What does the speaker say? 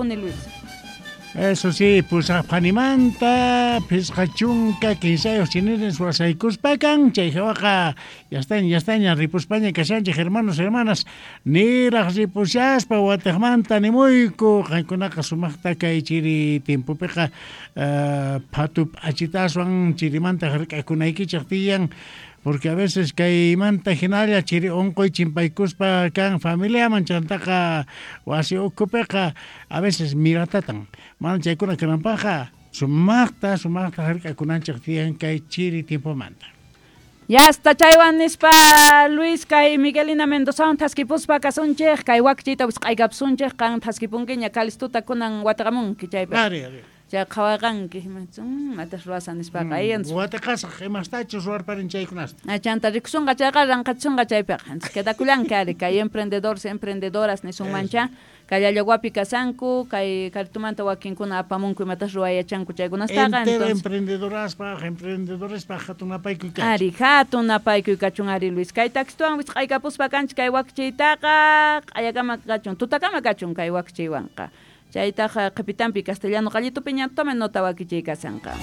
Luis. Eso sí, pusaqphanimanta 53 chiniris wasaykuspakan, chay hawaqa ya estaña ripuspaña kashanchik, hermanos, hermanas, niraq ripushaspa watejmanta nimuyku, qankunaqa sumaqta kay chiri tiempopiqa phatu p'achitaswan chirimanta hark'akunaykichik tiyan, porque a veces kaymanta hinalla chiri unquy chimpaykuspa kan familiaman chantaqa wasi ukhupiqa a veces miratatan, mana chaykuna kananpaqqa sumaqta sumaqta hark'akunanchik tiyan kay chiri tiempomanta. Ya hasta chaywan nispa Luis kay Miguelina Mendozawan thaskipuspa kasunchik, kay wakchiyta wisq'aykapsunchik, qan thaskipunkiña Calistuta kunan wataqamunki chaypi. Ari, ari. Chay qhawarqanki, matas ruwasan nispaqa, Wataqasaq imastachus ruwarparin chaykunasta. Chanta rikusunqa chayqa ranqachisunqa chaypiqa. Entonces quedakullanki ari kay emprendedores, emprendedoras nisunmancha, kay Llallaguapi kasanku, kay Caritumanta wakinkuna apamunku imatas ruwayachanku chaykunastaqa. Entero emprendedoraspaj, emprendedorespaj hatun napaykuy kachun. Ari, hatun napaykuy kachun ari Luis. Kay taxituwan wisq'aykapuspa kanchik kay wakchiytaqa, q'ayakama kachun, tutakama kachun kay wakchiywanqa. Chaytaqa qhipitanpi castellano qallitupi ña tome nota wakichiy kasanqa.